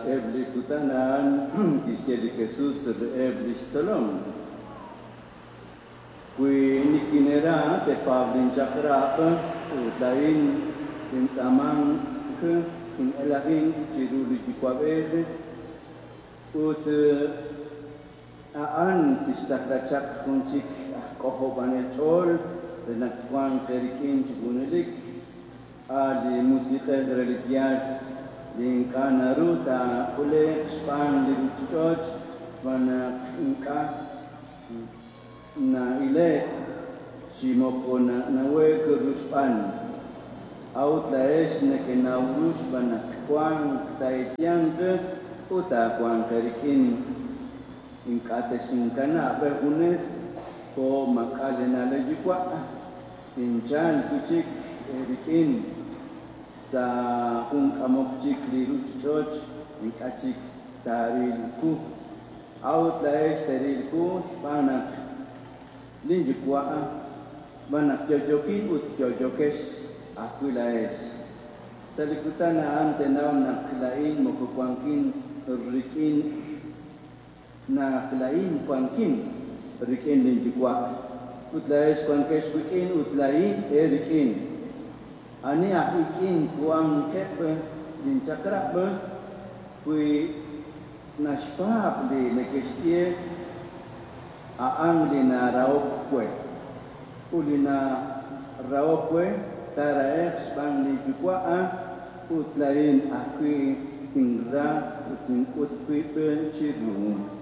Sa'eb' li kutan a'an kixye li Jesus reheb' li xtzolom, Wi nikineera teepaab' linchaq'rab' ut laa'in tintz'aamanq tin'elajinq chiru li Yuwa'b'ej ut a'an tixtaqla chaq jun chik aj K'ojob'anel ch'ool re naq twanq eerik'in chi junelik, a' li Musiq'ej re li yaal li ink'a' naru taak'ule'q xb'aan li ruuchich'och' xb'aan naq ink'a' Na'ile'k chi moko nanawe'k ru xb'aan. A'ut laa'ex nekenaw ru xb'aan naq wank sa' eeyanq ut taawanq eerik'in. Ink'a' texinkanab' eejunes jo' maak'a' leena'leb' leeyuwa', tinchalq wi' chik eerik'in sa' jun k'amok chik li ruuchich'och' ink'a' chik taaril wu. A'ut laa'ex teeril wu xb'aan naq lin Yuwa', xb'aan naq yo'yokin ut yo'yokex ajwi' laa'ex. Sa' li kutan a'an teenaw naq laa'in moko wankin rik'in naq laa'in wankin rik'in lin Yuwa', ut laa'ex wankex wik'in ut laa'in eerik'in. Ani aj ik'in wankeb' lin chaq'rab', wi Naxpaab' li neke'xye a'an li narahok we. Ut li narahok we taarahe'q xb'aan li Yuwa' ut laa'in ajwi' tinra ut tink'ut wib' chiru.